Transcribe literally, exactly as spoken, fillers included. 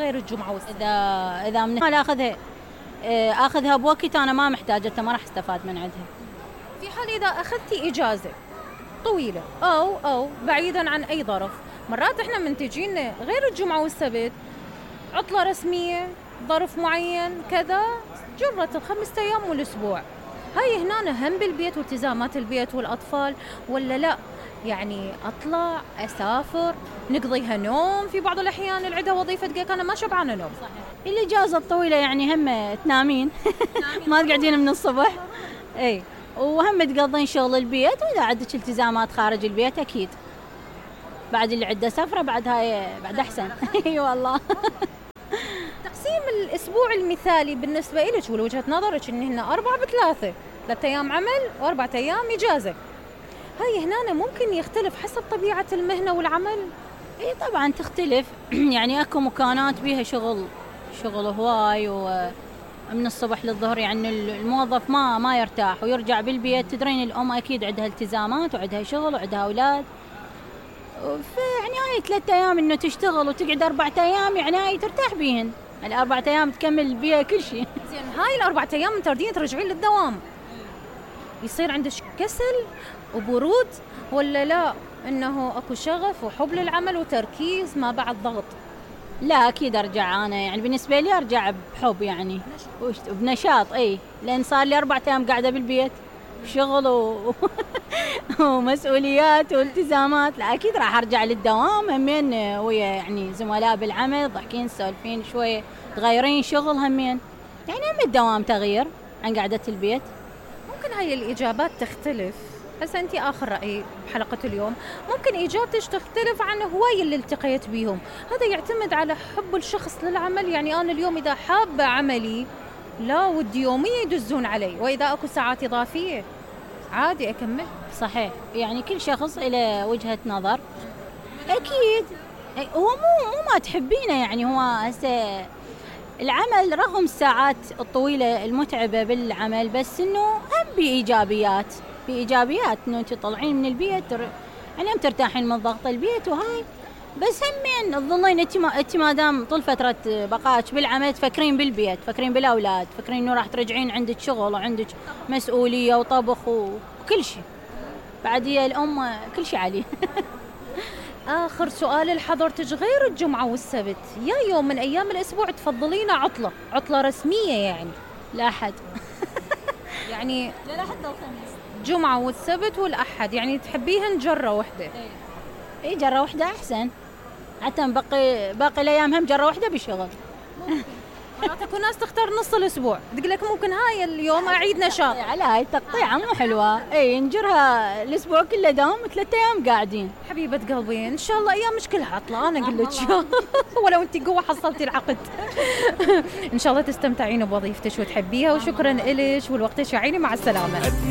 غير الجمعة والسبت؟ إذا إذا من حال آخذها آخذها بوقت أنا ما محتاجتها، ما راح استفاد من عندها. في حال إذا أخذتي إجازة طويلة أو أو بعيداً عن أي ظرف، مرات إحنا منتجين غير الجمعة والسبت عطلة رسمية، ظرف معين كذا، جرت الخمسة أيام والأسبوع، هاي هنا هم بالبيت والتزامات البيت والأطفال ولا لا؟ يعني أطلع أسافر نقضيها نوم في بعض الأحيان اللي عندها وظيفة تقولك أنا ما شبعانة نوم. صحيح. الإجازة الطويلة يعني هم تنامين ما تقعدين من الصبح، أي وهم تقضين شغل البيت، وإذا عندك التزامات خارج البيت أكيد بعد اللي عنده سفرة بعد هاي بعد أحسن. أي والله. تقسيم الأسبوع المثالي بالنسبة إلك ولوجهة نظرك إن هنا أربعة بثلاثة، ثلاثة أيام عمل وأربعة أيام إجازة، هاي هنا ممكن يختلف حسب طبيعة المهنة والعمل؟ إيه طبعاً تختلف. يعني أكو مكانات بيها شغل شغل هواي ومن الصبح للظهر، يعني الموظف ما ما يرتاح ويرجع بالبيت. تدرين الأم أكيد عندها التزامات وعندها شغل وعندها أولاد، فيعني هاي ثلاثة أيام إنه تشتغل وتقعد أربعة أيام يعني هاي ترتاح بيهن، الأربعة أيام تكمل بيها كل شيء. زين هاي الأربعة أيام تردين ترجعين للدوام، يصير عندك كسل وبرود ولا لا إنه أكو شغف وحب للعمل وتركيز ما بعد ضغط؟ لا أكيد أرجع أنا، يعني بالنسبة لي أرجع بحب يعني وبنشاط. أي لأن صار لي أربعة أيام قاعدة بالبيت شغل و... ومسؤوليات والتزامات، لا أكيد راح أرجع للدوام همين ويا يعني زملاء بالعمل ضحكين سولفين شوية تغيرين شغل همين، يعني هم الدوام تغيير عن قعدة البيت. ممكن هاي الإجابات تختلف، هسه أنتي آخر رأي بحلقة اليوم، ممكن إجابتك تختلف عن هواي اللي التقيت بيهم، هذا يعتمد على حب الشخص للعمل. يعني أنا اليوم إذا حابة عملي لا ودي يومية يدزون علي، وإذا أكو ساعات إضافية عادي أكمل. صحيح، يعني كل شخص إلى وجهة نظر أكيد. هو مو مو ما تحبينه، يعني هو هسه العمل رغم الساعات الطويلة المتعبة بالعمل بس إنه هم بإيجابيات بإيجابيات إنه أنت تطلعين من البيت يعني هم ترتاحين من ضغط البيت وهاي، بس همين تظلين أنت ما أنت ما دام طول فترة بقائك بالعمل تفكرين بالبيت، تفكرين بالأولاد، تفكرين إنه راح ترجعين عندك شغل وعندك مسؤولية وطبخ وكل شيء، بعد هي الأم كل شيء عليه. آخر سؤال لحضرتك، غير الجمعة والسبت يا يوم من أيام الأسبوع تفضلين عطلة عطلة رسمية يعني؟ لا أحد. يعني لا لا حتى الخميس، جمعة والسبت والأحد يعني تحبيهن جرة واحدة؟ إيه إيه جرة واحدة أحسن، حتى باقي باقي الأيام هم جرة واحدة بشغل. مرات اكو ناس تختار نص الاسبوع، تقول لك ممكن هاي اليوم اعيد نشاط. على هاي التقطيعه مو حلوه، اي نجرها الاسبوع كله دوام ثلاثة ايام قاعدين. حبيبه قلبي ان شاء الله ايامك كلها عطله، انا اقول لك ولو انت قوه حصلتي العقد. ان شاء الله تستمتعين بوظيفتك وتحبيها، وشكرا لك ولوقتك يا عيني، مع السلامه.